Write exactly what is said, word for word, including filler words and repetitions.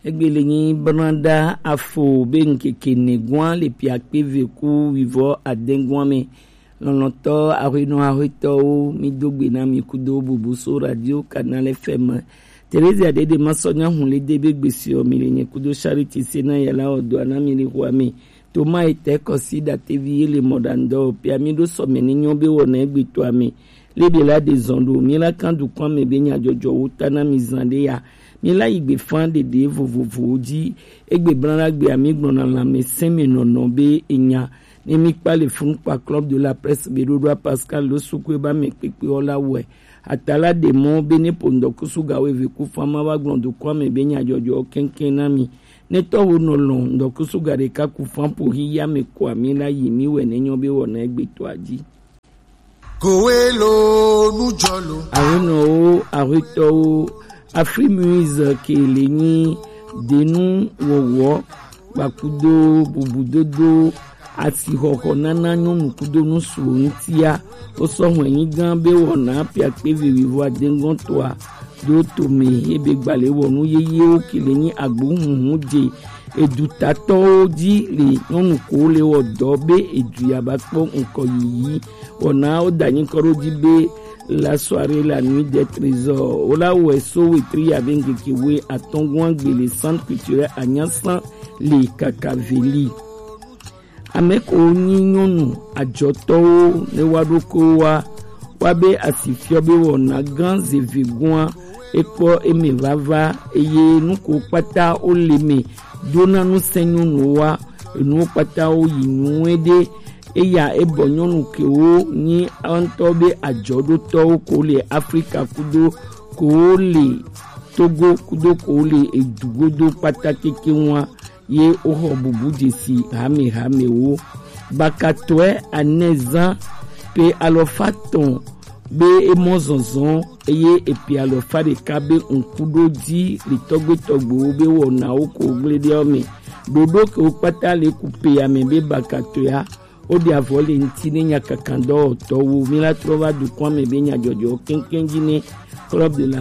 Egbe le nyi branda afo be ŋkeke ne gwan le piakpe ve ku wivɔ adengwan me. Lɔlɔtɔ ahoenɔ ahoetɔwo, mi do gbe na mi kudo bubu so radio Canal F M. Terezia Dede ma sɔ nya hun le de be gbesi o mi le nye kudo Charity se na yala o do ana mi le hua mi. Toma etɛ kɔsi datevi ye le mɔ da ŋdɔ pia mi ɖo sɔmɛ ni nyɔ be wɔ na egbe to ame. Lebe la de zɔn ɖo mi la kan dukɔn ame be nyadzɔdzɔ wo ta na mi zan ɖe ya. Mi la yi gbe fan ɖeɖe vovovowo dzi. Egbe blan la gbe ami gblɔ na lãmesẽ me nɔnɔ be enya. Ne mi kpa le fun kpa Club de la Presse be ɖoɖoa Pascal lo suku eba me kpekpe ɔ la wɔe. Atala ɖe mɔ be ne po ŋdɔkusu ga wo eve ku fan ma va gblɔ dukɔn ame be nyadzɔdzɔ kɛnkɛn na mi. Ne tɔwo nɔ lɔn ŋdɔkusu ga ɖeka ku fan po hi ya me ko ami la yi mi wɛ ne nyɔ be wɔ na egbe to adzi. Kowe lo nujɔ lo. Arenɔwo, aretɔwo, Afrimuise ke le nyi denu wɔwɔ kpakudo bubudodo asixɔxɔ nana nyɔnu kudo nusuwo ŋutia. Wosɔ hwɛnyi gã be wɔna piakpe vevivo adengɔtɔa do tome ebe gbalẽ wɔnu yeyewo ke le nyi agbohunhun je edutatɔwo dzi le nyɔnu ko le wɔ dɔ be edu ya ba kpɔ ŋkɔ yiyi. Wɔna wo da nyikɔ ɖo dzi be la soirée la nuit des trésors wo la wɔe so wetri ya be ŋkeke we atɔngɔn agbe le Centre Culturel Anyasan le Kakaveli. Ame ko nyi nyɔnu adzɔtɔwo ne wa ɖo ko wa wa be asi fiɔ be wɔna gã zeve gɔa ekpɔ eme vava eye nuko kpata wo le me dona nu sɛ nyɔnu wa enuwo kpata wo yi nyuie ɖe. Eya ebɔ nyɔnu kewo nyi ŋutɔ be adzɔɖotɔwo ko le Afrika kudo ko le Togo kudo ko le edu godo kpata keke ŋua ye woxɔ bubu dzesi hamehamewo. Bakatɔe anɛzã pe alɔfa tɔn be emɔ zɔnzɔn eye epe alɔfa ɖeka be ŋku ɖo dzi le tɔgbe tɔgbewo be wɔnawo ko gble ɖe ɔ me. Ɖoɖo ke wo kpata le ku pe ya me be bakatɔea wo ɖe avɔ le ŋti ne nya kankan dɔwɔtɔwo mi la trɔ va dukɔn me be nyadzɔdzɔ keŋkeŋ dzi ne Club de la